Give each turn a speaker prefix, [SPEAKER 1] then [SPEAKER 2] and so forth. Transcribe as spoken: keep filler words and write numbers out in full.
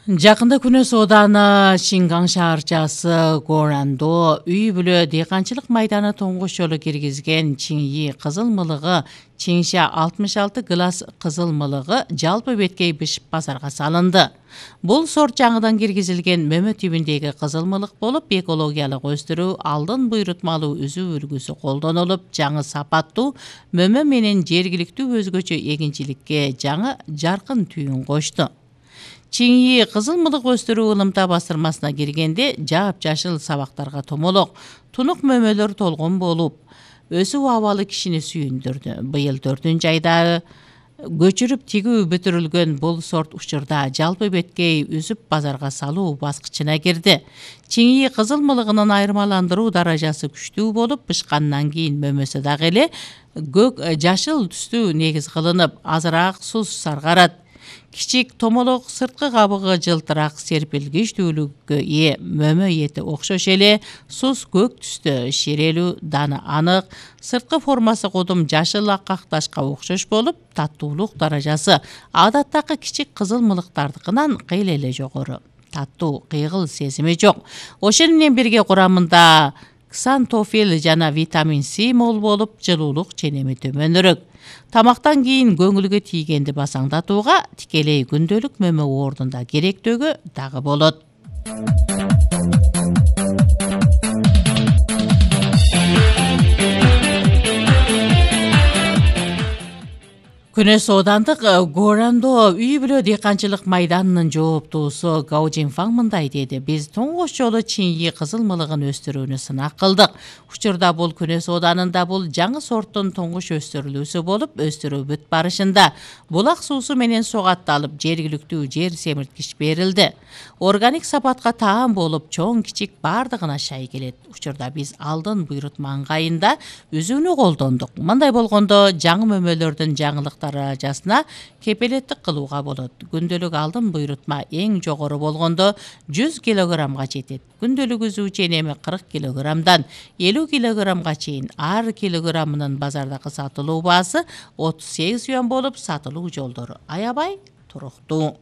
[SPEAKER 1] Жакында Күнөс Ооданы Шинган шаарчасы Горандо үй бүлө дыйканчылык майданы тоңгуш жолу киргизген Чиңи кызыл мылыгы Чиңша алтымыш алты класс кызыл мылыгы жалпы беткей бышып базарга салынды. Бул сорт жаңыдан киргизилген мөмө түбүндөгү кызыл мылык болуп, экологиялык өстүрүү алдын буйрутмалуу үзүү үлгүсү колдонулуп, жаңы сапаттуу мөмө менен жергиликтүү өзгөчө эгинчиликке жаңы жаркын түйүн кошту. Чиңи кызыл мылык өстүрүү ылымта басырмасына киргенде жаап-жашыл сабактарга томолок, тунук мөмөлөр толгон болуп, өсүп абалы кишини сүйүндүрдү. Быйыл төртүнчү айда көчүрүп тигүү бүтүрүлгөн бул сорт учурда жалпы беткей үзүп базарга салуу баскычына кирди. Чиңи кызыл мылыгынын айырмаландыруу даражасы күчтүү болуп, бышкандан кийин мөмөсү дагы эле көк жашыл түстүү негиз кылынып, азыраак суз саргарат. Кичик томолок сырткы кабыгы жылтыраак серпилгичтүүлүккө ээ, мөмө эти окшош эле суз көк түстө, ширелүү даны анык, сырткы формасы кудум жашыл аккак ташка окшош болуп, таттуулук даражасы адаттагы кичик кызыл мылыктардыкынан кыйла эле жогору. Таттуу, кыйгыл сезими жок. Ошол менен бирге курамында ксантофил жана витамин С мол болуп, жылуулук ченеми төмөнүрөөк. Тамактан кийин көңүлгө тийгенди басаңдатууга, тикелей күндөлүк мөмө ордунда керектөөгө дагы болот. Күнөс Оодандык Горандо үй бүлө дыйканчылык майданынын жооптуусу Гао Жинфаң мындай деди: биз тоңгош жолу Чиңи кызыл мылыгын өстүрүүнү сынак кылдык. Учурда бул Күнөс Оодарында бул жаңы сорттун тоңгуш өстүрүлүүсү болуп, өстүрүү бүт барышында. Булак суусу менен сугатталып, жергиликтүү жер семирткич берилди. Органик сапатка таам болуп, чоң кичик бардыгына шай келет. Учурда биз алдын буйрутма ыңгайында үзүүнү колдондук. Мындай болгондо жаңы мөмөлөрдүн жаңылык даражасына кепилеттик кылууга болот. Күндөлүк алдын буйрутма эң жогору болгондо жүз килограммга жетет. Күндөлүк үзүү ченеми кырк килограммдан элүү килограммга чейин. Ар килограммынын базардагы сатылуу баасы отуз сегиз юан болуп, сатылуу жолдору аябай туруктуу.